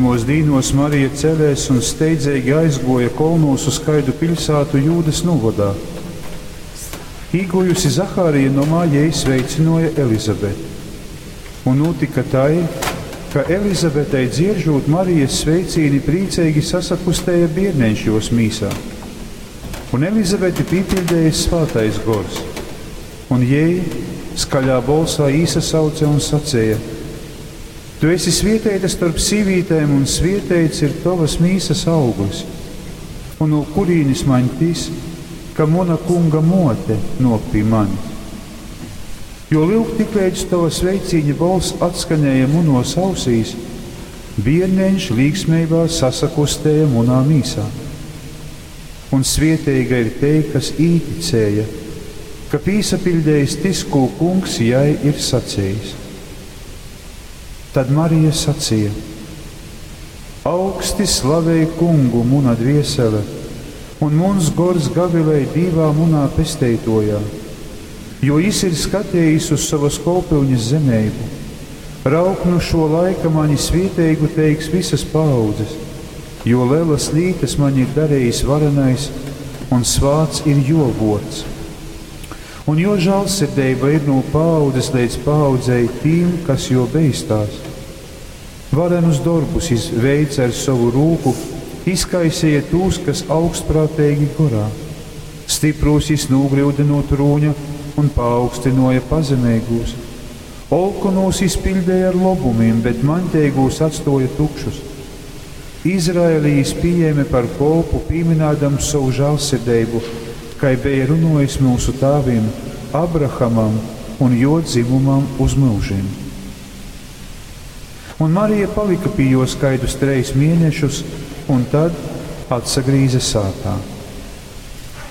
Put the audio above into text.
Tymōs dīnōs Marija cēlēs un steidzeigi aizgōja kolnūs uz kaidu piļsātu Jūdas nūvodā. Īgōjusi Zaharija nomā, jei sveicynōja Elizabeti. Un nūtyka tai, ka Elizabetei dzieržūt Marijas sveicīni prīceigi sasakustēja bierneņš jōs mīsā. Un Elizabeti pīpiļdeja Svātais Gors. Un jei skaļā bolsā īsasauce un saceja: Tu esi svieteita storp sīvītēm, un svieteits ir tovas mīsas auglis. Un no kurīnis maņ tys, ka muna Kunga muote nuok pi manis? Jo, lyuk, tikleidz tova sveicīņa bolss atskanēja munuos ausīs, bierneņš līksmeibā sasakustēja munā mīsā. Un svieteiga ir tei, kas īticēja, ka pīsapiļdeis tys, kū Kungs jai ir sacejis. Tad Marija saceja: Augsti slavej Kungu, muna dviesele, un muns gors gavilej Dīvā munā Pesteituojā, jo Jis ir skatejis uz sovas kolpyuņas zemeibu. Raug, nu šuo laika mani svieteigu teiks vysas paaudzes, jo lelas lītas maņ ir darejis Varenais, un svāts ir Juo vuords. Un Juo žālsirdeiba ir nu paaudzes leidz paaudzei tīm, kas Juo beistās. Varenus dorbus Jis veice ar sovu rūku, izkaiseja tūs, kas augstprāteigi gorā. Styprūs Jis nūgryude nu trūņa un paaugstynuoja pazemeigūs. Olkonūs Jis piļdeja ar lobumim, bet maņteigūs atstuoja tukšus. Izraeli Jis pījēme par kolpu, pīmynādams sovu žālsirdeibu, kai beja runuojis myusu tāvim, Abrahamam un juo dzymumam uz myužim. Un Marija palika pi juos kaidus trejs mienešus un tad atsagrīze sātā.